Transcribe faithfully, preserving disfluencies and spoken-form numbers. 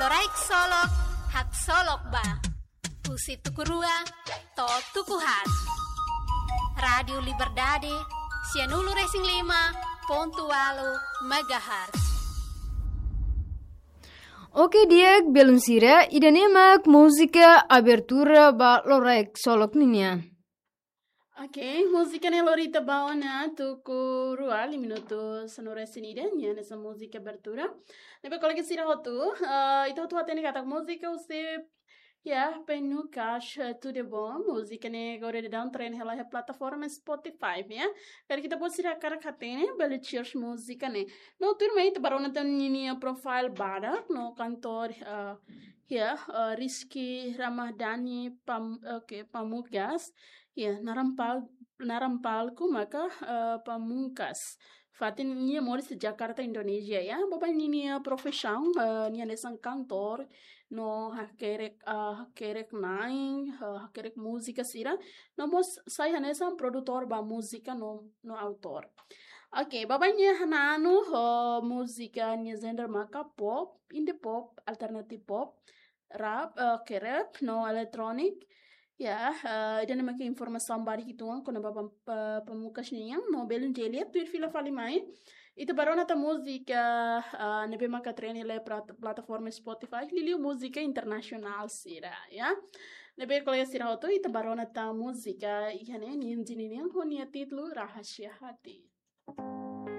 Loraik Solok, haksolok ba. Husi tuku rua to'o tuku haat. Rádiu Liberdade, sianulu-resin-lima pontu ualu megahertz. Oke, di'ak, belun sira, ida-ne'e mak múzika abertura ba Loraik Solok ninian. Oke, múzika ne'e lori ita ba ona tuku rua, lima minutu sanulu-resin-ida, nia hanesan múzika abertura. Ne'ebé kolega sira hotu, eh, ita hotu hatene katak múzika husi, ya, Penucas, eh, Tudo Bom. Múzika ne'e agora daudaun trend hela iha plataforma Spotify, ya. Karik ita-boot sira hakarak hatene, bele search múzika ne'e. No tuirmai ita bá rona tan ninia profile badak, no kantór, eh, ya, eh, Rizky Ramadhani Pam-, oke, Pamungkas. Ya, naran pal-, naran palku maka, eh, Pamungkas. Fatin nia moris iha Jakarta, Indonézia, ya. Baibain ninia profisaun, eh, nia hanesan kantór, no hakerek, eh, hakerek na'in, eh, hakerek múzika sira. No mós sai hanesan produtór ba múzika no, no autór. Oke, baibain nia hananu, eh, múzika nia genre maka pop, indie pop, alternative pop, rap, eh, oke, rap, no electronic. Ya, eh, ida-ne'e maka informasaun badak uitoan kona-ba Pam-, Pa-, Pamungkas nian, no belun sira tuir fila fali mai. Ita bá rona tan múzika, eh, ne'ebé maka trend hela iha plat-, plataforma Spotify, liuliu múzika internasionál sira, ya. Ne'ebé kolega sira hotu, ita bá rona tan múzika iha ne'e, ninia jini nian ho nia títulu Rahasia Hati.